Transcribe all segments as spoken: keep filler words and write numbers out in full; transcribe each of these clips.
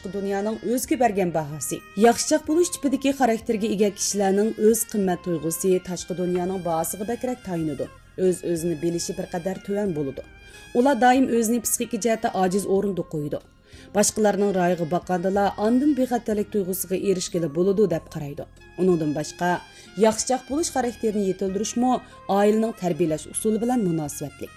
تاشقى دۇنيانىڭ ئۆزىگە بەرگەن باھاسى. ياخشىچاق بولۇش تىپىدىكى خاراكتېرگە ئىگە كىشىلەرنىڭ ئۆز قىممەت تۇيغۇسى تاشقى دۇنيانىڭ باھاسىغا بەكرەك تايىنىدۇ. ئۆز-ئۆزىنى بىلىشى بىر قەدەر تۆۋەن بولىدۇ. ئۇلار دائىم ئۆزىنى پسىخىكا جەھەتتە ئاجىز ئورۇندا قويىدۇ. باشقىلارنىڭ رايىغا باققاندىلا ئاندىن بىخەتەرلىك تۇيغۇسىغا ئېرىشكىلى بولىدۇ دەپ قارايدۇ. ئۇنىڭدىن باشقا، ياخشىچاق بولۇش خاراكتېرىنى يېتىلدۈرۈشمۇ ئائىلىنىڭ تەربىيەلەش ئۇسۇلى بىلەن مۇناسىۋەتلىك.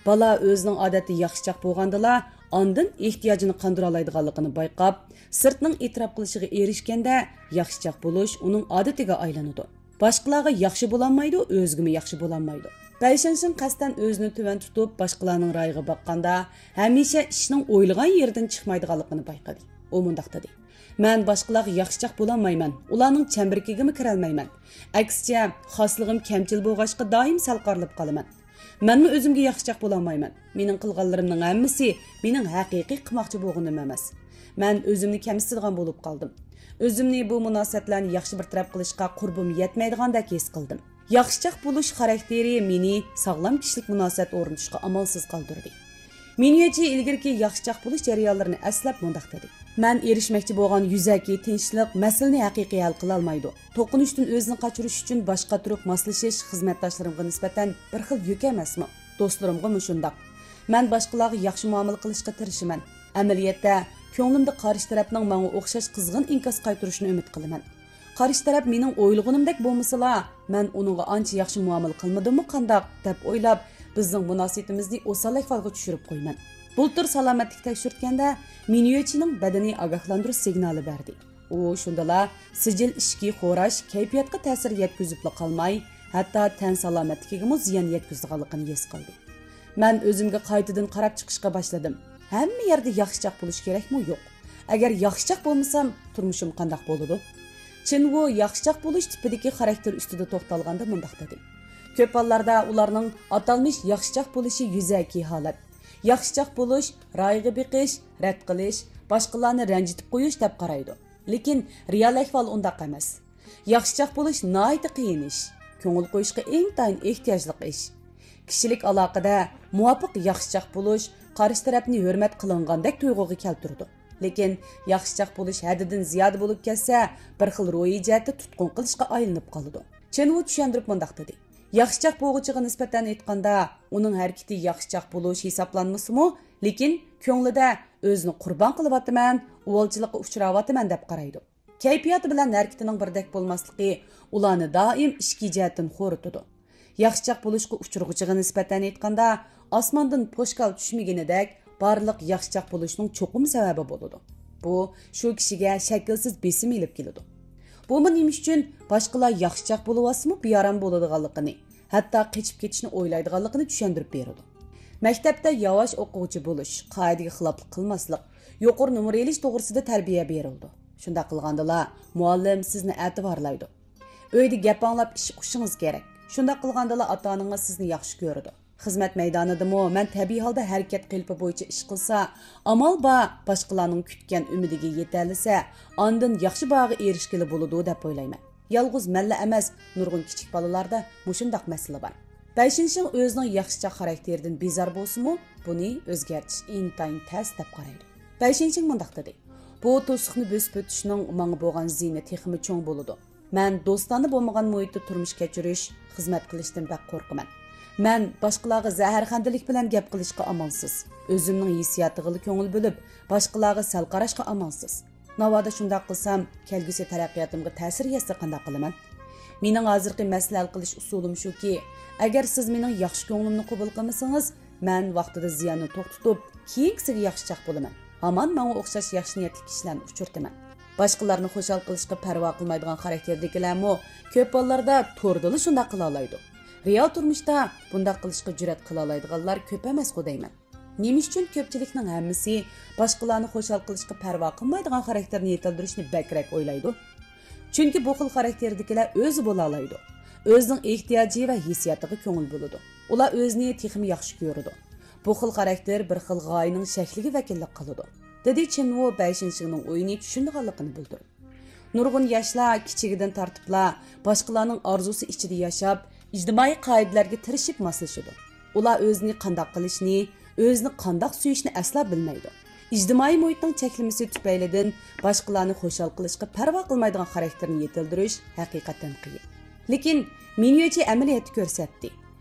بالا ئۆزىنىڭ ئادەتتە ياخشىچاق بولغاندىلا، ئاندىن ئېھتىياجىنى قاندۇرالايدىغانلىقىنى بايقاپ، سىرتنىڭ ئېتىراپ قىلىشىغا ئېرىشكەندە، ياخشىچاق بولۇش ئۇنىڭ ئادىتىگە ئايلىنىدۇ. باشقىلارغا ياخشى بولالمايدۇ، ئۆزىگىمۇ ياخشى بولالمايدۇ. بەيشىڭشىڭ قەستەن ئۆزىنى تۆۋەن تۇتۇپ، باشقىلارنىڭ رايىغا باققاندا، ھەمىشە ئىشنىڭ ئويلىغان يېرىدىن چىقمايدىغانلىقىنى بايقىدى. ئۇ مۇنداق دېدى: «مەن باشقىلارغا ياخشىچاق بولالمايمەن، ئۇلارنىڭ چەمبىرىكىگىمۇ كىرەلمەيمەن. ئەكسىچە، خاسلىقىم كەمچىل بولغاچقا، دائىم سەل قارىلىپ قالىمەن. مەنمۇ ئۆزۈمگە ياخشىچاق بولالمايمەن. مېنىڭ قىلغانلىرىمنىڭ ھەممىسى مېنىڭ ھەقىقىي قىلماقچى بولغىنىم ئەمەس. مەن ئۆزۈمنى كەمسىتىدىغان بولۇپ قالدىم. ئۆزۈمنى بۇ مۇناسىۋەتلەرنى ياخشى بىر تەرەپ قىلىشقا قۇربۇم يەتمەيدىغاندەك ھېس قىلدىم.» ياخشىچاق بولۇش خاراكتېرى مېنى ساغلام كىشىلىك مۇناسىۋەت ئورنىتىشقا ئامالسىز قالدۇردى. مىنيۆچى ئىلگىرىكى ياخشىچاق بولۇش جەريانلىرىنى ئەسلەپ مۇنداق دېدى: «مەن ئېرىشمەكچى بولغان يۈزەكى تىنچلىق مەسىلىنى ھەقىقىي ھەل قىلالمايدۇ. توقۇنۇشتىن ئۆزىنى قاچۇرۇش ئۈچۈن باش قاتۇرۇپ ماسلىشىش خىزمەتداشلىرىمغا نىسبەتەن بىر خىل يۈك ئەمەسمۇ؟ دوستلىرىمغىمۇ شۇنداق. مەن باشقىلارغا ياخشى مۇئامىلە قىلىشقا تىرىشىمەن. ئەمەلىيەتتە، كۆڭلۈمدە قارشى تەرەپنىڭ ماڭا ئوخشاش قىزغىن ئىنكاس قايتۇرۇشىنى ئۈمىد قىلىمەن. قارشى تەرەپ مېنىڭ ئويلىغىنىمدەك بولمىسىلا، مەن ئۇنىڭغا ئانچە ياخشى مۇئامىلە قىلمىدىممۇ قانداق؟» دەپ ئويلاپ، بىزنىڭ مۇناسىۋىتىمىزنى ئوسال ئەھۋالغا چۈشۈرۈپ قويىمەن. بۇلتۇر سالامەتلىك تەكشۈرتكەندە، مىنيۆچىنىڭ بەدىنى ئاگاھلاندۇرۇش سىگنالى بەردى. ئۇ شۇندىلا سىجىل ئىچكى خوراش كەيپىياتقا تەسىر يەتكۈزۈپلا قالماي، ھەتتا تەن سالامەتلىكىگىمۇ زىيان يەتكۈزىدىغانلىقىنى ھېس قىلدى. مەن ئۆزۈمگە قايتىدىن قاراپ چىقىشقا باشلىدىم. ھەممە يەردە ياخشىچاق بولۇش كېرەكمۇ يوق؟ ئەگەر ياخشىچاق بولمىسام، تۇرمۇشۇم قانداق بولىدۇ؟ چىن ۋۇ ياخشىچاق بولۇش تىپىدىكى خاراكتېر ئۈستىدە توختالغاندا مۇنداق دېدى: «كۆپ ھاللاردا ئۇلارنىڭ ئاتالمىش ياخشىچاق بولۇشى يۈزەكى ھالەت. ياخشىچاق بولۇش، رايىغا بېقىش، رەت قىلىش، باشقىلارنى رەنجىتىپ قويۇش دەپ قارايدۇ. لېكىن رېئال ئەھۋال ئۇنداق ئەمەس. ياخشىچاق بولۇش ناھايىتى قىيىن ئىش، كۆڭۈل قويۇشقا ئىنتايىن ئېھتىياجلىق ئىش. كىشىلىك ئالاقىدە مۇۋاپىق ياخشىچاق بولۇش قارشى تەرەپنى ھۆرمەت قىلىنغاندە,دەك تۇيغۇغا كەلتۈرىدۇ. لېكىن ياخشىچاق بولۇش ھەددىدىن زىيادە بولۇپ كەتسە، بىر خىل روھىي جەھەتتە تۇتقۇن قىلىشقا ئايلىنىپ قالىدۇ.» چېن ۋۇ چۈشەندۈرۈپ مۇنداق دېدى: «ياخشىچاق بولغۇچىغا نىسبەتەن ئېيتقاندا، ئۇنىڭ ھەرىكىتى ياخشىچاق بولۇش ھېسابلانمىسىمۇ، لېكىن كۆڭلىدە ئۆزىنى قۇربان قىلىۋاتىمەن، ئۇۋالچىلىققا ئۇچراۋاتىمەن دەپ قارايدۇ. كەيپىياتى بىلەن ھەرىكىتىنىڭ بىردەك بولماسلىقى ئۇلارنى دائىم ئىچكى جەھەتتىن خورىتىدۇ. ياخشىچاق بولۇشقا ئۇچرىغۇچىغا نىسبەتەن ئېيتقاندا، ئاسماندىن پوشكال چۈشمىگىنىدەك، بارلىق ياخشىچاق بولۇشنىڭ چوقۇم سەۋەبى بولىدۇ. بۇ شۇ كىشىگە شەكىلسىز بېسىم ئېلىپ كېلىدۇ. بۇمۇ نېمە ئۈچۈن باشقىلار ياخشىچاق بولۇۋاتسىمۇ بىئارام بولىدىغانلىقىنى، ھەتتا قېچىپ كېتىشنى ئويلايدىغانلىقىنى چۈشەندۈرۈپ بېرىدۇ. مەكتەپتە ياۋاش ئوقۇغۇچى بولۇش، قائىدىگە خىلاپلىق قىلماسلىق، يۇقىرى نومۇر ئېلىش توغرىسىدا تەربىيە بېرىلىدۇ. شۇنداق قىلغاندىلا، مۇئەللىم سىزنى ئەتىۋارلايدۇ. ئۆيدە گەپ ئاڭلاپ ئىش ئۇقۇشىڭىز كېرەك. شۇنداق قىلغاندىلا، ئاتا-ئانىڭىز سىزنى ياخشى كۆرىدۇ. خىزمەت مەيدانىدىمۇ مەن تەبىئىي ھالدا ھەرىكەت قېلىپى بويىچە ئىش قىلسا، ئامال بار باشقىلارنىڭ كۈتكەن ئۈمىدىگە يېتەلىسە، ئاندىن ياخشى باھاغا ئېرىشكىلى بولىدۇ دەپ ئويلايمەن. يالغۇز مەنلا ئەمەس، نۇرغۇن كىچىك بالىلاردا مۇشۇنداق مەسىلە بار. بەيشىنشىڭ ئۆزىنىڭ ياخشىچاق خاراكتېرىدىن بىزار بولسىمۇ، بۇنى ئۆزگەرتىش ئىنتايىن تەس دەپ قارايدۇ. بەيشىنشىڭ مۇنداق دېدى: «بۇ توسۇقنى بۆسۈپ ئۆتۈشنىڭ ماڭا بولغان زىيىنى تېخىمۇ چوڭ بولىدۇ. مەن دوستانە بولمىغان مۇھىتتا تۇرمۇش كەچۈرۈش، خىزمەت قىلىشتىن بەك قورقىمەن. مەن باشقىلارغا زەھەرخەندىلىك بىلەن گەپ قىلىشقا ئامالسىز، ئۆزۈمنىڭ ھېسسىياتىغىلا كۆڭۈل بۆلۈپ، باشقىلارغا سەل قاراشقا ئامالسىز. ناۋادا شۇنداق قىلسام، كەلگۈسى تەرەققىياتىمغا تەسىر يەتسە قانداق قىلىمەن؟ مېنىڭ ھازىرقى مەسىلە ھەل قىلىش ئۇسۇلۇم شۇكى، ئەگەر سىز مېنىڭ ياخشى كۆڭلۈمنى قوبۇل قىلمىسىڭىز، مەن ۋاقتىدا زىياننى توختىتىپ، كېيىنكىسىگە ياخشىچاق بولىمەن. ھامان ماڭا ئوخشاش ياخشى نىيەتلىك كىشىلەرنى ئۇچرىتىمەن.» باشقىلارنى خۇشال قىلىشقا پەرۋا قىلمايدىغان خاراكتېردىكىلەرمۇ كۆپ ھاللاردا توردىلا شۇنداق قىلالايدۇ. رېئال تۇرمۇشتا بۇنداق قىلىشقا جۈرئەت قىلالايدىغانلار كۆپ ئەمەسقۇ دەيمەن. نېمە ئۈچۈن كۆپچىلىكنىڭ ھەممىسى باشقىلارنى خۇشال قىلىشقا پەرۋا قىلمايدىغان خاراكتېرنى يېتىلدۈرۈشنى بەكرەك ئويلايدۇ؟ چۈنكى بۇ خىل خاراكتېردىكىلەر ئۆزى بولالايدۇ. ئۆزىنىڭ ئېھتىياجى ۋە ھېسسىياتىغا كۆڭۈل بۆلىدۇ. ئۇلار ئۆزىنى تېخىمۇ ياخشى كۆرىدۇ. بۇ خىل خاراكتېر بىر خىل غايىنىڭ شەكلىگە ۋەكىللىك قىلىدۇ، دېدى چېن ۋۇ بەيشىنشىڭنىڭ ئويىنى چۈشىنىدىغانلىقىنى بىلدۈرۈپ. نۇرغۇن ياشلار كىچىكىدىن تارتىپلا باشقىلارنىڭ ئارزۇسى ئىچىدە ياشاپ، ئىجتىمائىي قائىدىلەرگە تىرىشىپ ماسلىشىدۇ. ئۇلار ئۆزىنى قانداق قىلىشنى، ئۆزىنى قانداق سۆيۈشنى ئەسلا بىلمەيدۇ. ئىجتىمائىي مۇھىتنىڭ چەكلىمىسى تۈپەيلىدىن باشقىلارنى خۇشال قىلىشقا پەرۋا قىلمايدىغان خاراكتېرنى يېتىلدۈرۈش ھەقىقەتەن قىيىن. لېكىن مىنيۆچى ئەمەلىيەتتە كۆرسەتتى.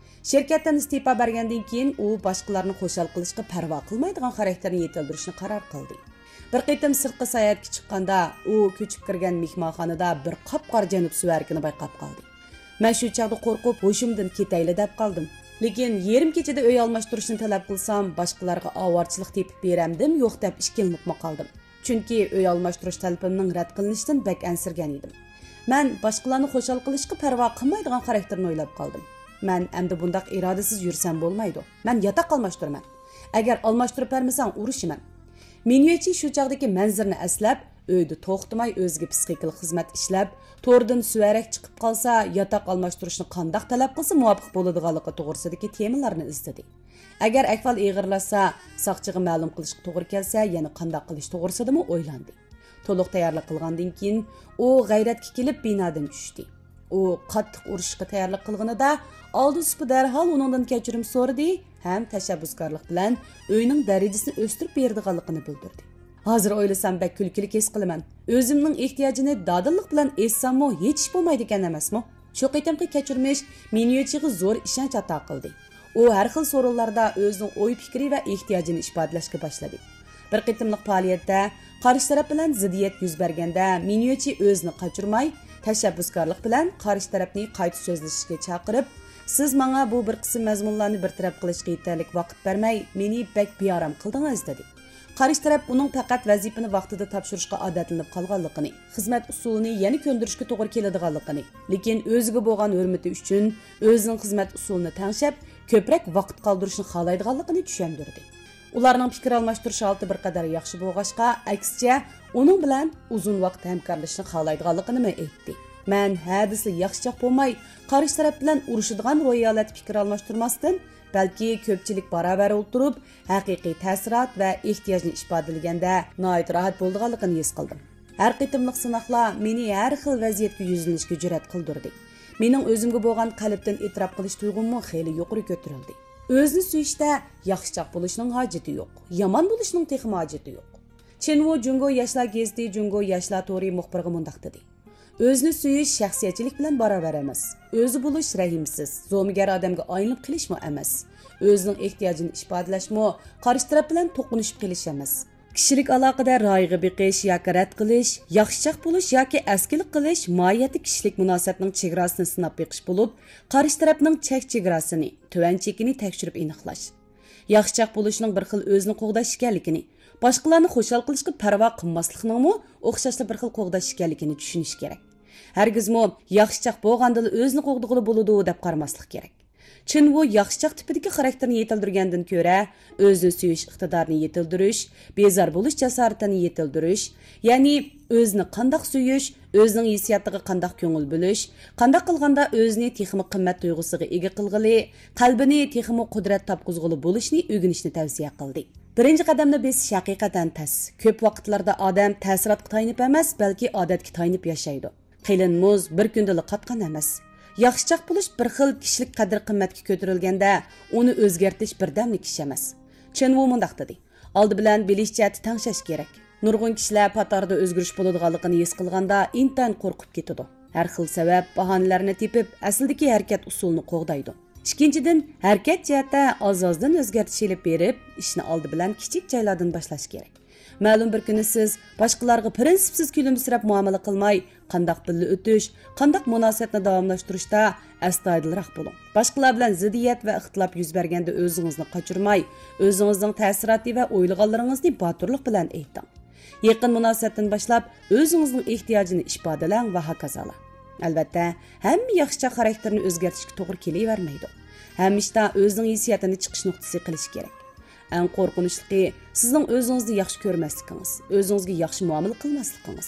شىركەتتىن ئىستېپا بەرگەندىن كېيىن، ئۇ باشقىلارنى خۇشال قىلىشقا پەرۋا قىلمايدىغان خاراكتېرنى يېتىلدۈرۈشنى قارار قىلدى. بىر قېتىم سىرتقا ساياھەتكە چىققاندا، ئۇ كۆچۈپ كىرگەن مېھمانخانىدا بىر قاپقارا جەنۇب سۈۋەرىكىنى بايقاپ قالدى. مەن شۇ چاغدا قورقۇپ، ھوشۇمدىن كېتەيلى دەپ قالدىم. لېكىن يېرىم كېچىدە ئۆي ئالماشتۇرۇشنى تەلەپ قىلسام، باشقىلارغا ئاۋارىچىلىق تېپىپ بېرەمدىم يوق دەپ ئىككىلىنىپمۇ قالدىم. چۈنكى ئۆي ئالماشتۇرۇش تەلىپىمنىڭ رەت قىلىنىشىدىن بەك ئەنسىرىگەن ئىدىم. مەن باشقىلارنى خۇشال قىلىشقا پەرۋا قىلمايدىغان خاراكتېرنى ئويلاپ قالدىم. مەن ئەمدى بۇنداق ئىرادىسىز يۈرسەم بولمايدۇ. مەن ياتاق ئالماشتۇرىمەن. ئەگەر ئالماشتۇرۇپ بەرمىسەڭ، ئۇرۇشىمەن. مىنيۆچى شۇ چاغدىكى مەنزىرىنى ئەسلەپ، ئۆيدە توختىماي ئۆزىگە پسىخىكىلىق خىزمەت ئىشلەپ، توردىن سۈۋەرەك چىقىپ قالسا، ياتاق ئالماشتۇرۇشنى قانداق تەلەپ قىلسا مۇۋاپىق بولىدىغانلىقى توغرىسىدىكى تېمىلارنى ئىزدىدى. ئەگەر ئەھۋال ئېغىرلاشسا، ساقچىغا مەلۇم قىلىشقا توغرا كەلسە، يەنە قانداق قىلىش توغرىسىدىمۇ ئويلاندى. تولۇق تەييارلىق قىلغاندىن كېيىن، ئۇ غەيرەتكە كېلىپ بىنادىن چۈشتى. ئۇ قاتتىق ئۇرۇشۇشقا تەييارلىق قىلغىنىدا، ئالدى سۇپى دەرھال ئۇنىڭدىن كەچۈرۈم سورىدى ھەم تەشەببۇسكارلىق بىلەن ئۆينىڭ دەرىجىسىنى ئۆستۈرۈپ بېرىدىغانلىقىنى بىلدۈردى. ھازىر ئويلىسام بەك كۈلكىلىك ھېس قىلىمەن. ئۆزۈمنىڭ ئېھتىياجىنى دادىللىق بىلەن ئېيتساممۇ ھېچ ئىش بولمايدىكەن ئەمەسمۇ؟ شۇ قېتىمقى كەچۈرمىش مىنيۆچىغا زور ئىشەنچ ئاتا قىلدى. ئۇ ھەر خىل سورۇنلاردا ئۆزىنىڭ ئوي-پىكرى ۋە ئېھتىياجىنى ئىپادىلەشكە باشلىدى. بىر قېتىملىق پائالىيەتتە قارشى تەرەپ بىلەن زىددىيەت يۈز بەرگەندە، مىنيۆچى ئۆزىنى قاچۇرماي، تەشەببۇسكارلىق بىلەن قارشى تەرەپنى قايتا سۆزلىشىشكە چاقىرىپ، سىز ماڭا بۇ بىر قىسىم مەزمۇنلارنى بىر تەرەپ قىلىشقا يېتەرلىك ۋاقىت بەرمەي، مېنى بەك بىئارام قىلدىڭىز، دېدى. قارشى تەرەپ ئۇنىڭ پەقەت ۋەزىپىنى ۋاقتىدا تاپشۇرۇشقا ئادەتلىنىپ قالغانلىقىنى، خىزمەت ئۇسۇلىنى يەنە كۆندۈرۈشكە توغرا كېلىدىغانلىقىنى، لېكىن ئۆزىگە بولغان ھۆرمىتى ئۈچۈن ئۆزىنىڭ خىزمەت ئۇسۇلىنى تەڭشەپ، كۆپرەك ۋاقىت قالدۇرۇشنى خالايدىغانلىقىنى چۈشەندۈردى. ئۇلارنىڭ پىكىر ئالماشتۇرۇش ھالىتى بىر قەدەر ياخشى بولغاچقا، ئەكسىچە، ئۇنىڭ بىلەن ئۇزۇن ۋاقىت ھەمكارلىشىشنى خالايدىغانلىقىنىمۇ ئېيتتى. مەن ھە دېسىلا ياخشىچاق بولماي، قارشى تەرەپ بىلەن ئۇرۇشىدىغان روھىي ھالەتتە پىكىر ئالماشتۇرماستىن، بەلكى كۆپچىلىك باراۋەر ئولتۇرۇپ، ھەقىقىي تەسىرات ۋە ئېھتىياجنى ئىپادىلىگەندە ناھايىتى راھەت بولىدىغانلىقىنى ھېس قىلدىم. ھەر قېتىملىق سىناقلار مېنى ھەر خىل ۋەزىيەتكە يۈزلىنىشكە جۈرئەت قىلدۇردى. مېنىڭ ئۆزۈمگە بولغان قەلبتىن ئېتىراپ قىلىش تۇيغۇممۇ خېلى يۇقىرى كۆتۈرۈلدى. ئۆزىنى سۈيۈشتە ياخشىچاق بولۇشنىڭ ھاجىتى يوق، يامان بولۇشنىڭ تېخىمۇ ھاجىتى يوق. چىن ۋۇ جۇڭگو ياشلار گېزىتى جۇڭگو ياشلار تورى مۇخبىرىغا مۇنداق دېدى. ئۆزىنى سۆيۈش شەخسىيەتچىلىك بىلەن باراۋەر ئەمەس. ئۆزى بولۇش رەھىمسىز، زومىگەر ئادەمگە ئايلىنىپ قېلىشمۇ ئەمەس. ئۆزىنىڭ ئېھتىياجىنى ئىپادىلەشمۇ قارشى تەرەپ بىلەن توقۇنۇشۇپ قېلىش ئەمەس. كىشىلىك ئالاقىدە رايىغا بېقىش ياكى رەت قىلىش، ياخشىچاق بولۇش ياكى ئەسكىلىك قىلىش ماھىيەتتە كىشىلىك مۇناسىۋەتنىڭ چېگراسىنى سىناپ بېقىش بولۇپ، قارشى تەرەپنىڭ چەك چېگراسىنى، تۆۋەن چېكىنى تەكشۈرۈپ ئېنىقلاش. ياخشىچاق بولۇشنىڭ بىر خىل ئۆزىنى قوغداش ئىكەنلىكىنى، باشقىلارنى خۇشال قىلىشقا پەرۋا قىلماسلىقنىڭمۇ ئوخشاشلا بىر خىل قوغداش ئىكەنلىكىنى چۈشىنىش كېرەك. ھەرگىزمۇ ياخشىچاق بولغاندىلا ئۆزىنى قوغدىغىلى بولىدۇ دەپ قارىماسلىق كېرەك. چىن ۋۇ ياخشىچاق تىپىدىكى خاراكتېرنى يېتىلدۈرگەندىن كۆرە، ئۆزىنى سۆيۈش ئىقتىدارىنى يېتىلدۈرۈش، بىزار بولۇش جاسارىتىنى يېتىلدۈرۈش، يەنى ئۆزىنى قانداق سۆيۈش، ئۆزىنىڭ ھېسسىياتىغا قانداق كۆڭۈل بۆلۈش، قانداق قىلغاندا ئۆزىنى تېخىمۇ قىممەت تۇيغۇسىغا ئىگە قىلغىلى، قەلبىنى تېخىمۇ قۇدرەت تاپقۇزغىلى بولۇشنى ئۆگىنىشنى تەۋسىيە قىلدى. بىرىنچى قەدەمنى بېسىش ھەقىقەتەن تەس. كۆپ ۋاقىتلاردا ئادەم تەسىراتقا تايىنىپ ئەمەس، بەلكى ئادەتكە تايىنىپ ياشايدۇ. قېلىن مۇز بىر كۈندىلا قاتقان ئەمەس. ياخشىچاق بولۇش بىر خىل كىشىلىك قەدىر-قىممەتكە كۆتۈرۈلگەندە، ئۇنى ئۆزگەرتىش بىردەملىك ئىش ئەمەس. چېن ۋۇ مۇنداق دېدى، ئالدى بىلەن بىلىش جەھەتتە تەڭشەش كېرەك. نۇرغۇن كىشىلەر پاتاردا ئۆزگىرىش بولىدىغانلىقىنى ھېس قىلغاندا ئىنتايىن قورقۇپ كېتىدۇ. ھەر خىل سەۋەب، باھانىلەرنى تېپىپ، ئەسلىدىكى ھەرىكەت ئۇسۇلىنى قوغدايدۇ. ئىككىنچىدىن، ھەرىكەت جەھەتتە ئاز-ئازدىن ئۆزگەرتىش ئېلىپ بېرىپ، ئىشنى ئالدى بىلەن كىچىك جايلاردىن باشلاش كېرەك. مەلۇم بىر كۈنى سىز باشقىلارغا پىرىنسىپسىز كۈلۈمسىرەپ مۇئامىلە قىلماي، قانداق بىللە ئۆتۈش، قانداق مۇناسىۋەتنى داۋاملاشتۇرۇشتا ئەستايىدىلراق بولۇڭ. باشقىلار بىلەن زىددىيەت ۋە ئىختىلاپ يۈز بەرگەندە ئۆزىڭىزنى قاچۇرماي، ئۆزىڭىزنىڭ تەسىراتى ۋە ئويلىغانلىرىڭىزنى باتۇرلۇق بىلەن ئېيتىڭ. يېقىن مۇناسىۋەتتىن باشلاپ ئۆزىڭىزنىڭ ئېھتىياجىنى ئىپادىلەڭ ۋە ھاكازالا. ئەلۋەتتە، ھەممە ياخشىچاق خاراكتېرنى ئۆزگەرتىشكە توغرا كېلىۋەرمەيدۇ. ھەممە ئىشتا ئۆزىنىڭ ھېسسىياتىنى چىقىش نۇقتىسى قىلىش كېرەك. ئەڭ قورقۇنچلۇقى، سىزنىڭ ئۆزىڭىزنى ياخشى كۆرمەسلىكىڭىز، ئۆزىڭىزگە ياخشى مۇئامىلە قىلماسلىقىڭىز،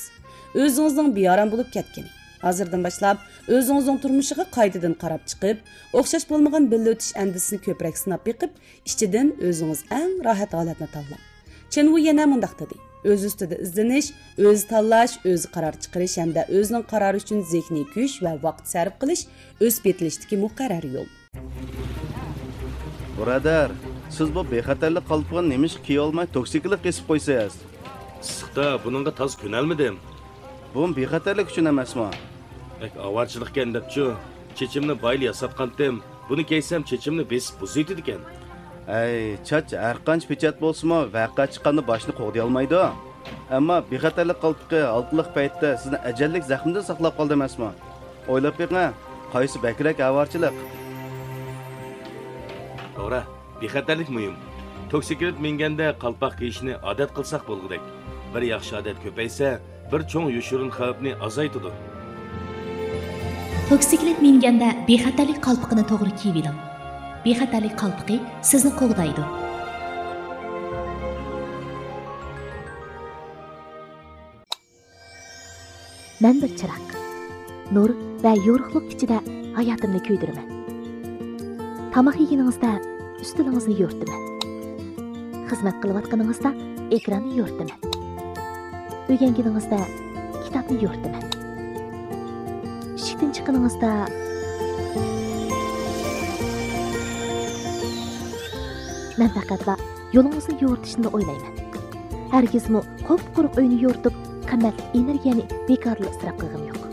ئۆزىڭىزنىڭ بىئارام بولۇپ كەتكىنى. ھازىردىن باشلاپ ئۆزىڭىزنىڭ تۇرمۇشىغا قايتىدىن قاراپ چىقىپ، ئوخشاش بولمىغان بىللە ئۆتۈش ئەندىزىسىنى كۆپرەك سىناپ بېقىپ، ئىچىدىن ئۆزىڭىز ئەڭ راھەت ھالەتنى تاللاڭ. چېن ۋۇ يەنە مۇنداق دېدى، ئۆز ئۈستىدە ئىزدىنىش، ئۆزى تاللاش، ئۆزى قارار چىقىرىش ھەمدە ئۆزىنىڭ قارارى ئۈچۈن زېھنىي كۈچ ۋە ۋاقىت سەرپ قىلىش ئۆسۈپ يېتىلىشتىكى مۇقەررەر يول. بۇرادەر، سىز بۇ بىخەتەرلىك قالپىقىنى نېمىشقا كىيىۋالماي توكسىكلىق كېسىپ قويىسىز؟ ئىسسىقتا بۇنىڭغا تازا كۆنەلمىدىم. بۇمۇ بىخەتەرلىك ئۈچۈن ئەمەسمۇ؟ بەك ئاۋارىچىلىقكەن دەپچۇ. چېچىمنى بايىلا ياساتقانتىم. بۇنى كىيسەم چېچىمنى بېسىپ بۇزۇۋېتىدىكەن. ھەي، چاچ ھەرقانچە پېچەت بولسىمۇ، ۋەقە چىققاندا باشنى قوغدىيالمايدۇ. ئەمما بىخەتەرلىك قالپىقى ھالقىلىق پەيتتە سىزنى ئەجەللىك زەخمىدىن ساقلاپ قالدى ئەمەسمۇ؟ ئويلاپ بېقىڭ، قايسى بەكرەك ئاۋارىچىلىق؟ توغرا، بىخەتەرلىك مۇھىم. توكسىكلىت مىنگەندە قالپاق كىيىشنى ئادەت قىلساق بولغۇدەك. بىر ياخشى ئادەت كۆپەيسە، بىر چوڭ يوشۇرۇن خەۋپنى ئازايتىدۇ. توكسىكلىت مىنگەندە بىخەتەرلىك قالپىقىنى توغرا كىيىۋېلىڭ. بىخەتەرلىك قالپىقى سىزنى قوغدايدۇ. مەن بىر چىراغ. نۇر ۋە يورۇقلۇق ئىچىدە ھاياتىمنى كۆيدۈرىمەن. تاماق يېگىنىڭىزدە ئۈستىلىڭىزنى يورۇتىمەن. خىزمەت قىلىۋاتقىنىڭىزدا ئېكراننى يورۇتىمەن. ئۆگەنگىنىڭىزدە كىتابنى يورۇتىمەن. ئىشىكتىن چىققىنىڭىزدا مەن پەقەتلا يولىڭىزنى يورۇتۇشنىلا ئويلايمەن. ھەرگىزمۇ قۇپقۇرۇق ئۆينى يورۇتۇپ، قىممەتلىك ئېنېرگىيەنى بىكارلا ئىسراپ قىلغىنىم يوق.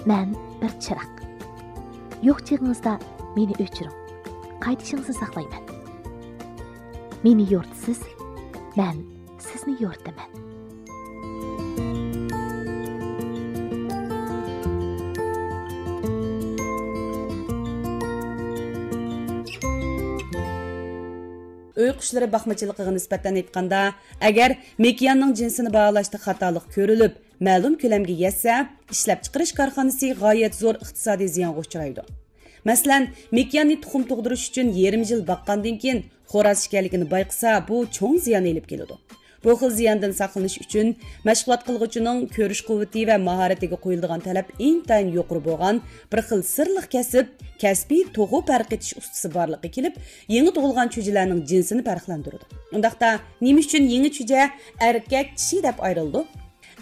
مەن بىر چىراغ. يوق چېغىڭىزدا مېنى ئۆچۈرۈڭ. قايتىشىڭىزنى ساقلايمەن. مېنى يورۇتىسىز، مەن سىزنى يورۇتىمەن. ئۆي قۇشلىرى باقمىچىلىقىغا نىسبەتەن ئېيتقاندا، ئەگەر مېكىياننىڭ جىنسىنى باھالاشتا خاتالىق كۆرۈلۈپ، مەلۇم كۆلەمگە يەتسە، ئىشلەپچىقىرىش كارخانىسى غايەت زور ئىقتىسادىي زىيانغا ئۇچرايدۇ. مەسىلەن، مېكىياننى تۇخۇم تۇغدۇرۇش ئۈچۈن يېرىم يىل باققاندىن كېيىن، خوراز ئىكەنلىكىنى بايقىسا، بۇ چوڭ زىيان ئېلىپ كېلىدۇ. بۇ خىل زىياندىن ساقلىنىش ئۈچۈن، مەشغۇلات قىلغۇچىنىڭ كۆرۈش قۇۋۋىتى ۋە ماھارىتىگە قويۇلىدىغان تەلەپ ئىنتايىن يۇقىرى بولغان بىر خىل سىرلىق كەسىپ، كەسپىي توخۇ پەرقىتىش ئۇستىسى بارلىققا كېلىپ، يېڭى تۇغۇلغان چۈجىلەرنىڭ جىنسىنى پەرقلەندۈرىدۇ. ئۇنداقتا، نېمە ئۈچۈن يېڭى چۈجە ئەركەك، چىشى دەپ ئايرىلىدۇ؟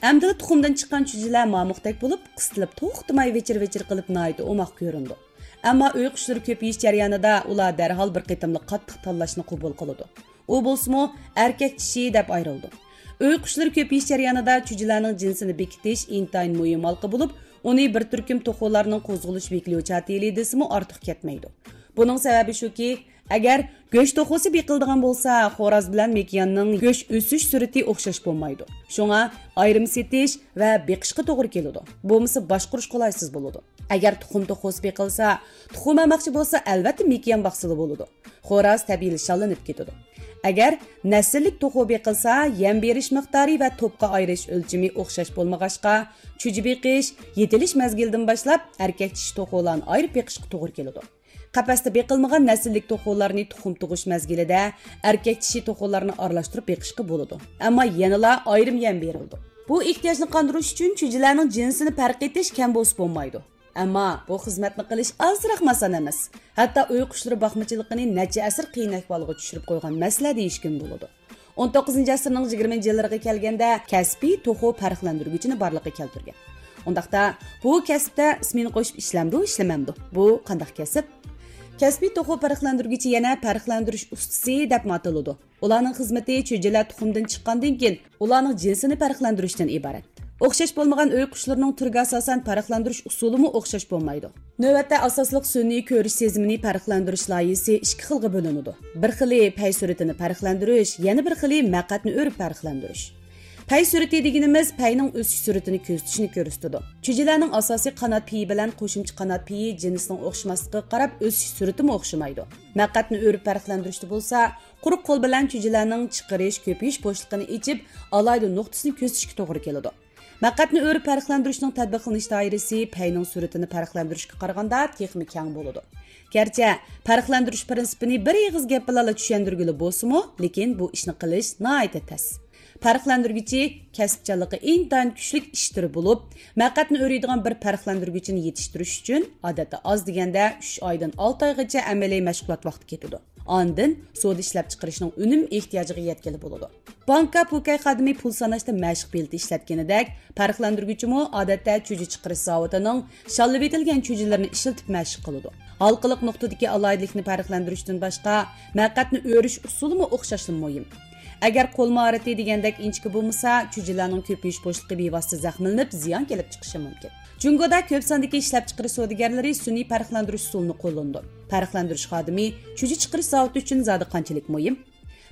ئەمدىلا تۇخۇمدىن چىققان چۈجىلەر مامۇقتەك بولۇپ، قىستىلىپ توختىماي ۋىچىر-ۋىچىر قىلىپ ناھايىتى ئوماق كۆرۈنىدۇ. ئەمما ئۆي قۇشلىرى كۆپىيىش جەريانىدا ئۇلار دەرھال بىر قېتىملىق قاتتىق تاللاشنى قوبۇل قىلىدۇ. ئۇ بولسىمۇ ئەركەك چىشى دەپ ئايرىلىدۇ. ئۆي قۇشلىرى كۆپىيىش جەريانىدا چۈجىلەرنىڭ جىنسىنى بېكىتىش ئىنتايىن مۇھىم ھالقا بولۇپ، ئۇنى بىر تۈركۈم توخۇلارنىڭ قوزغىلىش ۋىكلىيوچاتېلى دېسىمۇ ئارتۇق كەتمەيدۇ. بۇنىڭ سەۋەبى شۇكى، ئەگەر گۆش توخۇسى بېقىلىدىغان بولسا، خوراز بىلەن مېكىياننىڭ گۆش ئۆسۈش سۈرئىتى ئوخشاش بولمايدۇ. شۇڭا ئايرىم سېتىش ۋە بېقىشقا توغرا كېلىدۇ. بولمىسا باشقۇرۇش قولايسىز بولىدۇ. ئەگەر تۇخۇم توخۇسى بېقىلسا، تۇخۇم ئەممەكچى بولسا، ئەلۋەتتە مېكىيان باقسىلا بولىدۇ. خوراز تەبىئىيلا شاللىنىپ كېتىدۇ. ئەگەر نەسىللىك توخۇ بېقىلسا، يەم بېرىش مىقدارى ۋە توپقا ئايرىش ئۆلچىمى ئوخشاش بولمىغاچقا، چۈجە بېقىش، يېتىلىش مەزگىلىدىن باشلاپ ئەركەك چىشى توخۇلارنى ئايرىپ بېقىشقا توغرا كېلىدۇ. قەپەستە بېقىلمىغان نەسىللىك توخۇلارنى تۇخۇم تۇغۇش مەزگىلىدە ئەركەك چىشى توخۇلارنى ئارىلاشتۇرۇپ بېقىشقا بولىدۇ. ئەمما يەنىلا ئايرىم يەم بېرىلىدۇ. بۇ ئېھتىياجنى قاندۇرۇش ئۈچۈن چۈجىلەرنىڭ جىنسىنى پەرق ئېتىش كەم بولسا بولمايدۇ. ئەمما بۇ خىزمەتنى قىلىش ئازراقمۇ ئاسان ئەمەس. ھەتتا ئۆي قۇشلىرى باقمىچىلىقىنى نەچچە ئەسىر قىيىن ئەھۋالغا چۈشۈرۈپ قويغان مەسىلە دېيىشكىمۇ بولىدۇ. ئون توققۇزىنچى ئەسىرنىڭ يىگىرمىنچى يىللىرىغا كەلگەندە، كەسپىي توخۇ پەرقلەندۈرگۈچىنى بارلىققا كەلتۈرگەن. ئۇنداقتا، بۇ كەسىپتە ئىسمىنى قوشۇپ ئىشلەمدۇ، ئىشلىمەمدۇ؟ بۇ قانداق كەسىپ؟ كەسپىي توخۇ پەرقلەندۈرگۈچى يەنە پەرقلەندۈرۈش ئۇستىسى دەپمۇ ئاتىلىدۇ. ئۇلارنىڭ خىزمىتى چۈجىلەر تۇخۇمدىن چىققاندىن كېيىن، ئۇلارنىڭ جىنسىنى پەرقلەندۈرۈشتىن ئىبارەت. ئوخشاش بولمىغان ئۆي قۇشلىرىنىڭ تۈرىگە ئاساسەن پەرقلەندۈرۈش ئۇسۇلىمۇ ئوخشاش بولمايدۇ. نۆۋەتتە ئاساسلىق سۈنئىي كۆرۈش سېزىمىنى پەرقلەندۈرۈش لايىھىسى ئىككى خىلغا بۆلۈنىدۇ. بىر خىلى پەي سۈرئىتىنى پەرقلەندۈرۈش، يەنە بىر خىلى مەقئەتنى ئۆرۈپ پەرقلەندۈرۈش. پەي سۈرئىتى دېگىنىمىز پەينىڭ ئۆسۈش سۈرئىتىنى كۆزىتىشنى كۆرسىتىدۇ. چۈجىلەرنىڭ ئاساسىي قانات پېيى بىلەن قوشۇمچە قانات پېيى جىنسىنىڭ ئوخشىماسلىقىغا قاراپ ئۆسۈش سۈرئىتىمۇ ئوخشىمايدۇ. مەقئەتنى ئۆرۈپ پەرقلەندۈرۈشتە بولسا، قۇرۇق قول بىلەن چۈجىلەرنىڭ چىقىرىش، كۆپىيىش بوشلۇقىنى ئېچىپ، ئالاھىدە نۇقتىسىنى كۆزىتىشكە توغرا كېلىدۇ. مەقئەتنى ئۆرۈپ پەرقلەندۈرۈشنىڭ تەتبىقلىنىش دائىرىسى پەينىڭ سۈرئىتىنى پەرقلەندۈرۈشكە قارىغاندا تېخىمۇ كەڭ بولىدۇ. گەرچە پەرقلەندۈرۈش پىرىنسىپىنى بىر ئېغىز گەپ بىلەنلا چۈشەندۈرگىلى بولسىمۇ، لېكىن بۇ ئىشنى قىلىش ناھايىتى تەس. پەرقلەندۈرگۈچى كەسىپچانلىقى ئىنتايىن كۈچلۈك ئىش تۈرى بولۇپ، مەقئەتنى ئۆرۈيدىغان بىر پەرقلەندۈرگۈچىنى يېتىشتۈرۈش ئۈچۈن، ئادەتتە ئاز دېگەندە ئۈچ ئايدىن ئالتە ئايغىچە ئەمەلىي مەشغۇلات ۋاقتى كېتىدۇ. ئاندىن سودا ئىشلەپچىقىرىشنىڭ ئۈنۈم ئېھتىياجىغا يەتكىلى بولىدۇ. بانكا پوكەي خادىمى پۇل ساناشتا مەشىق بېلىتى ئىشلەتكىنىدەك، پەرقلەندۈرگۈچىمۇ ئادەتتە چۈجە چىقىرىش زاۋۇتىنىڭ شاللىۋېتىلگەن چۈجىلىرىنى ئىشلىتىپ مەشىق قىلىدۇ. ھالقىلىق نۇقتىدىكى ئالاھىدىلىكنى پەرقلەندۈرۈشتىن باشقا، مەقئەتنى ئۆرۈش ئۇسۇلىمۇ ئوخشاشلا مۇھىم. ئەگەر قول ماھارىتى دېگەندەك ئىنچىكە بولمىسا، چۈجىلەرنىڭ كۆپىيىش بوشلۇقى بىۋاسىتە زەخىملىنىپ، زىيان كېلىپ چىقىشى مۇمكىن. جۇڭگودا كۆپ ساندىكى ئىشلەپچىقىرىش سودىگەرلىرى سۈنئىي پەرقلەندۈرۈش ئۇسۇلىنى قوللىنىدۇ. پەرقلەندۈرۈش خادىمى چۈجە چىقىرىش زاۋۇتى ئۈچۈن زادى قانچىلىك مۇھىم؟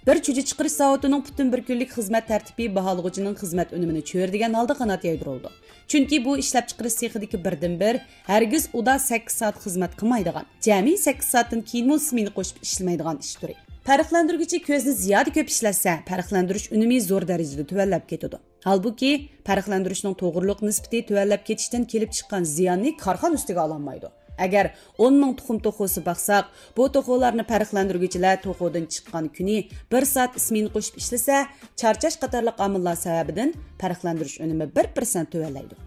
بىر چۈجە چىقىرىش زاۋۇتىنىڭ پۈتۈن بىر كۈنلۈك خىزمەت تەرتىپى باھالىغۇچىنىڭ خىزمەت ئۈنۈمىنى چۆرىدىگەن ھالدا قانات يايدۇرۇلىدۇ. چۈنكى بۇ ئىشلەپچىقىرىش سېخىدىكى بىردىنبىر، ھەرگىز ئۇدا سەككىز سائەت خىزمەت قىلمايدىغان، جەمئىي سەككىز سائەتتىن كېيىنمۇ سمېنا قوشۇپ ئىشلىمەيدىغان ئىش تۈرى. پەرقلەندۈرگۈچى كۆزنى زىيادە كۆپ ئىشلەتسە، پەرقلەندۈرۈش ئۈنۈمى زور دەرىجىدە تۆۋەنلەپ كېتىدۇ. ھالبۇكى، پەرقلەندۈرۈشنىڭ توغرىلىق نىسبىتى تۆۋەنلەپ كېتىشتىن كېلىپ چىققان زىياننى كارخانا ئۈستىگە ئالالمايدۇ. ئەگەر ئون مىڭ تۇخۇم توخۇسى باقساق، بۇ توخۇلارنى پەرقلەندۈرگۈچىلەر توخۇدىن چىققان كۈنى بىر سائەت سمېنا قوشۇپ ئىشلىسە، چارچاش قاتارلىق ئامىللار سەۋەبىدىن پەرقلەندۈرۈش ئۈنۈمى بىر پىرسەنت تۆۋەنلەيدۇ.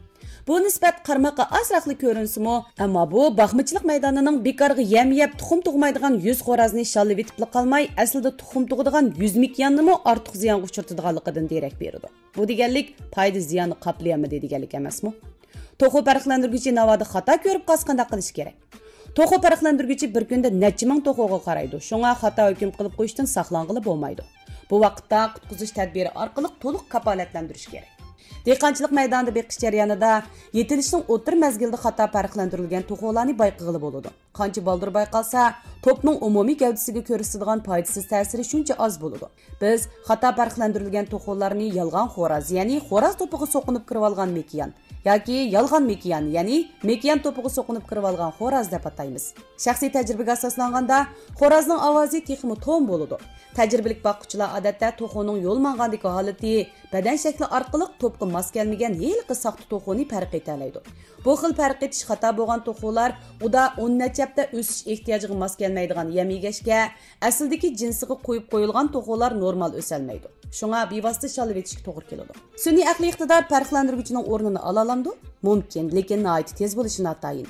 بۇ نىسبەت قارىماققا ئازراقلا كۆرۈنسىمۇ، ئەمما بۇ باقمىچىلىق مەيدانىنىڭ بىكارغا يەم يەپ، تۇخۇم تۇغمايدىغان يۈز خورازنى شاللىۋېتىپلا قالماي، ئەسلىدە تۇخۇم تۇغىدىغان يۈز مېكىياننىمۇ ئارتۇق زىيانغا ئۇچرىتىدىغانلىقىدىن دېرەك بېرىدۇ. بۇ دېگەنلىك، پايدا زىياننى قاپلىيالمىدى دېگەنلىك ئەمەسمۇ؟ توخۇ پەرقلەندۈرگۈچى ناۋادا خاتا كۆرۈپ قالسا قانداق قىلىش كېرەك؟ توخۇ پەرقلەندۈرگۈچى بىر كۈندە نەچچە مىڭ توخۇغا قارايدۇ، شۇڭا خاتا ھۆكۈم قىلىپ قويۇشتىن ساقلانغىلى بولمايدۇ. بۇ ۋاقىتتا قۇتقۇزۇش تەدبىرى ئارقىلىق تولۇق كاپالەتلەندۈرۈش كېرەك. دېھقانچىلىق مەيدانىدا بېقىش جەريانىدا يېتىلىشنىڭ ئوتتۇرا مەزگىلىدە خاتا پەرقلەندۈرۈلگەن توخۇلارنى بايقىغىلى بولىدۇ. قانچە بالدۇر بايقالسا، توپنىڭ ئومۇمىي گەۋدىسىگە كۆرسىتىدىغان پايدىسىز تەسىرى شۇنچە ئاز بولىدۇ. بىز خاتا پەرقلەندۈرۈلگەن توخۇلارنى يالغان خوراز، يەنى خوراز توپىغا سوقۇنۇپ كىرىۋالغان مېكىيان ياكى يالغان مېكىيان، يەنى مېكىيان توپىغا سوقۇنۇپ كىرىۋالغان خوراز دەپ ئاتايمىز. شەخسىي تەجرىبىگە ئاساسلانغاندا، خورازنىڭ ئاۋازى تېخىمۇ توم بولىدۇ. تەجرىبىلىك باققۇچىلار ئادەتتە توخۇنىڭ يول ماڭغاندىكى ھالىتى، بەدەن شەكلى ئارقىلىق توپقا ماس كەلمىگەن ھېلىقى ساختا توخۇنى پەرق ئېتەلەيدۇ. بۇ خىل پەرق ئېتىش خاتا بولغان توخۇلار ئۇدا ئون نەچچە ھەپتە ئۆسۈش ئېھتىياجىغا ماس كەلمەيدىغان يەم يېگەچكە، ئەسلىدىكى جىنسىغا قويۇپ قويۇلغان توخۇلار نورمال ئۆسەلمەيدۇ. شۇڭا بىۋاسىتە شاللىۋېتىشكە توغرا كېلىدۇ. سۈنئىي ئەقلىي ئىقتىدار پەرقلەندۈرگۈچىنىڭ ئورنىنى ئالالامدۇ؟ مۇمكىن، لېكىن ناھايىتى تېز بولۇشى ناتايىن.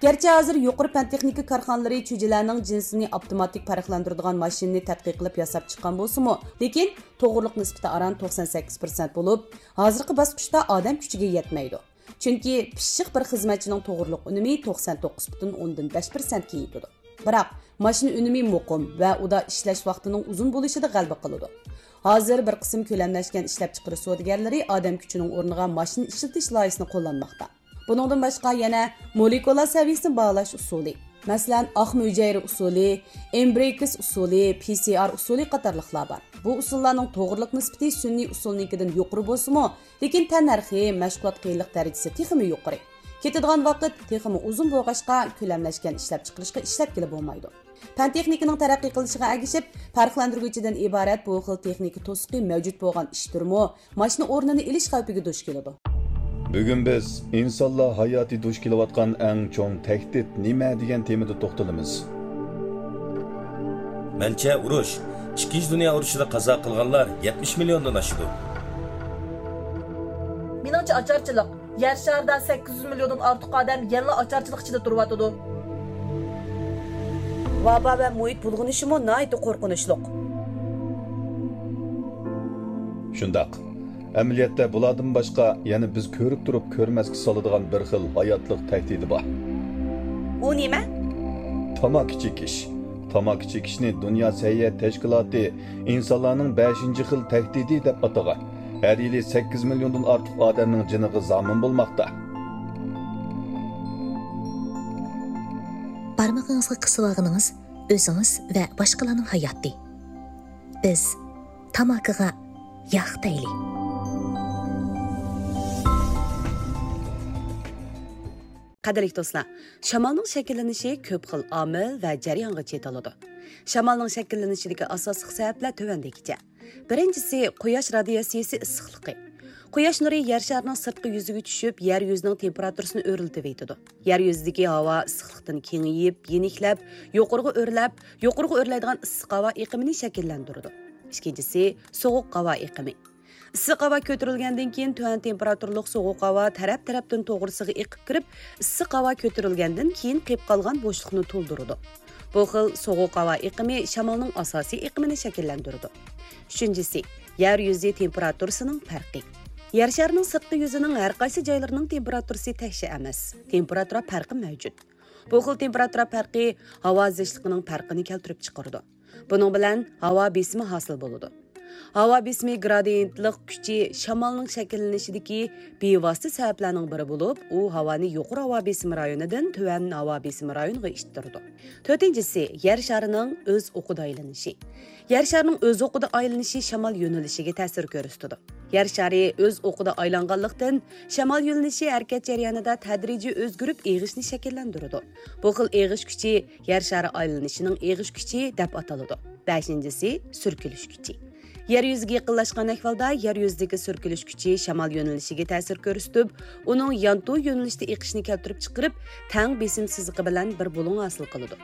گەرچە ھازىر يۇقىرى پەن تېخنىكا كارخانىلىرى چۈجىلەرنىڭ جىنسىنى ئاپتوماتىك پەرقلەندۈرىدىغان ماشىنىنى تەتقىق قىلىپ ياساپ چىققان بولسىمۇ، لېكىن توغرىلىق نىسبىتى ئاران توقسان سەككىز پىرسەنت بولۇپ، ھازىرقى باسقۇچتا ئادەم كۈچىگە يەتمەيدۇ. چۈنكى پىششىق بىر خىزمەتچىنىڭ توغرىلىق ئۈنۈمى توقسان توققۇز پۈتۈن ئوندىن بەش پىرسەنتكە يېتىدۇ. بىراق، ماشىنا ئۈنۈمى مۇقىم ۋە ئۇدا ئىشلەش ۋاقتىنىڭ ئۇزۇن بولۇشىدا غەلىبە قىلىدۇ. ھازىر بىر قىسىم كۆلەملەشكەن ئىشلەپچىقىرىش سودىگەرلىرى ئادەم كۈچىنىڭ ئورنىغا ماشىنا ئىشلىتىش لايىھىسىنى قوللانماقتا. بۇنىڭدىن باشقا يەنە مولېكۇلا سەۋىيەسىنى باھالاش ئۇسۇلى، مەسىلەن، ئاقما ھۈجەيرە ئۇسۇلى، ئېمبرىكس ئۇسۇلى، پى سى ئار ئۇسۇلى قاتارلىقلار بار. بۇ ئۇسۇللارنىڭ توغرىلىق نىسبىتى سۈنئىي ئۇسۇلنىڭكىدىن يۇقىرى بولسىمۇ، لېكىن تەننەرخى، مەشغۇلات قىيىنلىق دەرىجىسى تېخىمۇ يۇقىرى. كېتىدىغان ۋاقىت تېخىمۇ ئۇزۇن بولغاچقا، كۆلەملەشكەن ئىشلەپچىقىرىشقا ئىشلەتكىلى بولمايدۇ. پەن تېخنىكىنىڭ تەرەققىي قىلىشىغا ئەگىشىپ، پەرقلەندۈرگۈچىدىن ئىبارەت بۇ خىل تېخنىكا توسۇقى مەۋجۇت بولغان ئىش تۈرىمۇ ماشىنا ئورنىنى ئېلىش خەۋپىگە دۇچ كېلىدۇ. بۈگۈن بىز ئىنسانلار ھاياتى دۇچ كېلىۋاتقان ئەڭ چوڭ تەھدىت نېمە دېگەن تېمىدا توختىلىمىز. مەنچە ئۇرۇش، ئىككىنچى دۇنيا ئۇرۇشىدا قازا قىلغانلار يەتمىش مىليوندىن ئاشىدۇ. مېنىڭچە ئاچارچىلىق. يەر شارىدا سەككىز يۈز مىليوندىن ئارتۇق ئادەم يەنىلا ئاچارچىلىق ئىچىدە تۇرۇۋاتىدۇ. ۋابا ۋە مۇھىت بۇلغىنىشىمۇ ناھايىتى قورقۇنچلۇق. شۇنداق. ئەمەلىيەتتە بۇلاردىن باشقا يەنە بىز كۆرۈپ تۇرۇپ كۆرمەسكە سالىدىغان بىر خىل ھاياتلىق تەھدىتى بار. ئۇ نېمە؟ تاماكا چېكىش. تاماكا چېكىشنى دۇنيا سەھىيە تەشكىلاتى ئىنسانلارنىڭ بەشىنچى خىل تەھدىتى دەپ ئاتىغان. ھەر يىلى سەككىز مىليوندىن ئارتۇق ئادەمنىڭ جېنىغا زامىن بولماقتا. بارمىقىڭىزغا قىسىۋالغىنىڭىز ئۆزىڭىز ۋە باشقىلارنىڭ ھاياتى. بىز تاماكىغا ياق دەيلى. قەدىرلىك دوستلار، شامالنىڭ شەكىللىنىشى كۆپ خىل ئامىل ۋە جەريانغا چېتىلىدۇ. شامالنىڭ شەكىللىنىشىدىكى ئاساسلىق سەۋەبلەر تۆۋەندىكىچە. بىرىنچىسى، قۇياش رادىياتسىيىسى ئىسسىقلىقى. قۇياش نۇرى يەر شارىنىڭ سىرتقى يۈزىگە چۈشۈپ، يەر يۈزىنىڭ تېمپېراتۇرىسىنى ئۆرلىتىۋېتىدۇ. يەر يۈزىدىكى ھاۋا ئىسسىقلىقتىن كېڭىيىپ، يېنىكلەپ، يۇقىرىغا ئۆرلەپ، يۇقىرىغا ئۆرلەيدىغان ئىسسىق ھاۋا ئېقىمىنى شەكىللەندۈرىدۇ. ئىككىنچىسى، سوغۇق ھاۋا ئېقىمى. ئىسسىق ھاۋا كۆتۈرۈلگەندىن كېيىن، تۆۋەن تېمپېراتۇرىلىق سوغۇق ھاۋا تەرەپ-تەرەپتىن توغرىسىغا ئېقىپ كىرىپ، ئىسسىق ھاۋا كۆتۈرۈلگەندىن كېيىن قېلىپ قالغان بوشلۇقنى تولدۇرىدۇ. بۇ خىل سوغۇق ھاۋا ئېقىمى شامالنىڭ ئاساسىي ئېقىمىنى شەكىللەندۈرىدۇ. ئۈچىنچىسى، يەر يۈزى تېمپېراتۇرىسىنىڭ پەرقى. يەر شارىنىڭ سىرتقى يۈزىنىڭ ھەر قايسى جايلىرىنىڭ تېمپېراتۇرىسى تەكشى ئەمەس. تېمپېراتۇرا پەرقى مەۋجۇت. بۇ خىل تېمپېراتۇرا پەرقى ھاۋا زىچلىقىنىڭ پەرقىنى كەلتۈرۈپ چىقىرىدۇ. بۇنىڭ بىلەن ھاۋا بېسىمى ھاسىل بولىدۇ. ھاۋا بېسىمى گرادىيېنتلىق كۈچى شامالنىڭ شەكىللىنىشىدىكى بىۋاسىتە سەۋەبلەرنىڭ بىرى بولۇپ، ئۇ ھاۋانى يۇقىرى ھاۋا بېسىمى رايونىدىن تۆۋەن ھاۋا بېسىمى رايونىغا ئىتتىرىدۇ. تۆتىنچىسى، يەر شارىنىڭ ئۆز ئوقىدا ئايلىنىشى. يەر شارىنىڭ ئۆز ئوقىدا ئايلىنىشى شامال يۆنىلىشىگە تەسىر كۆرسىتىدۇ. يەر شارى ئۆز ئوقىدا ئايلانغانلىقتىن، شامال يۆنىلىشى ھەرىكەت جەريانىدا تەدرىجىي ئۆزگىرىپ، ئېغىشنى شەكىللەندۈرىدۇ. بۇ خىل ئېغىش كۈچى يەر شارى ئايلىنىشىنىڭ ئېغىش كۈچى دەپ ئاتىلىدۇ. بەشىنچىسى، سۈركىلىش كۈچى. يەر يۈزىگە يېقىنلاشقان ئەھۋالدا يەر يۈزىدىكى سۈركىلىش كۈچى شامال يۆنىلىشىگە تەسىر كۆرسىتىپ، ئۇنىڭ يانتۇ يۆنىلىشتە ئېقىشنى كەلتۈرۈپ چىقىرىپ، تەڭ بېسىم سىزىقى بىلەن بىر بۇلۇڭ ھاسىل قىلىدۇ.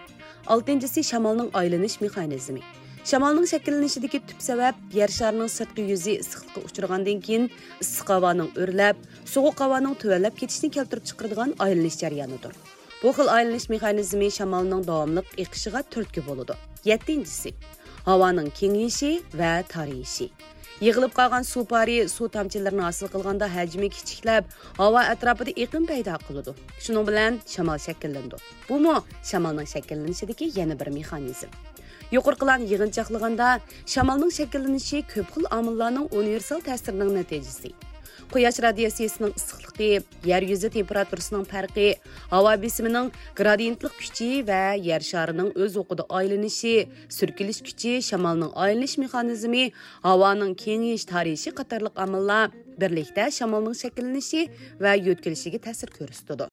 ئالتىنچىسى، شامالنىڭ ئايلىنىش مېخانىزمى. شامالنىڭ شەكىللىنىشىدىكى تۈپ سەۋەب يەر شارىنىڭ سىرتقى يۈزى ئىسسىقلىققا ئۇچرىغاندىن كېيىن، ئىسسىق ھاۋانىڭ ئۆرلەپ، سوغۇق ھاۋانىڭ تۆۋەنلەپ كېتىشىنى كەلتۈرۈپ چىقىرىدىغان ئايلىنىش جەريانىدۇر. بۇ خىل ئايلىنىش مېخانىزمى شامالنىڭ داۋاملىق ئېقىشىغا تۈرتكە بولىدۇ. يەتتىنچىسى، ھاۋانىڭ كېڭىيىشى ۋە تارىيىشى. يىغىلىپ قالغان سۇ پارى سۇ تامچىلىرىنى ھاسىل قىلغاندا ھەجمى كىچىكلەپ، ھاۋا ئەتراپىدا ئېقىن پەيدا قىلىدۇ. شۇنىڭ بىلەن شامال شەكىللىنىدۇ. بۇمۇ شامالنىڭ شەكىللىنىشىدىكى يەنە بىر مېخانىزم. يۇقىرىقىلارنى يىغىنچاقلىغاندا، شامالنىڭ شەكىللىنىشى كۆپ خىل ئامىللارنىڭ ئۇنىۋېرسال تەسىرىنىڭ نەتىجىسى. قۇياش رادىياتسىيىسىنىڭ ئىسسىقلىقى، يەر يۈزى تېمپېراتۇرىسىنىڭ پەرقى، ھاۋا بېسىمىنىڭ گرادىيېنتلىق كۈچى ۋە يەر شارىنىڭ ئۆز ئوقىدا ئايلىنىشى، سۈركىلىش كۈچى، شامالنىڭ ئايلىنىش مېخانىزمى، ھاۋانىڭ كېڭىيىش تارىيىشى قاتارلىق ئامىللار بىرلىكتە شامالنىڭ شەكىللىنىشى ۋە يۆتكىلىشىگە تەسىر كۆرسىتىدۇ.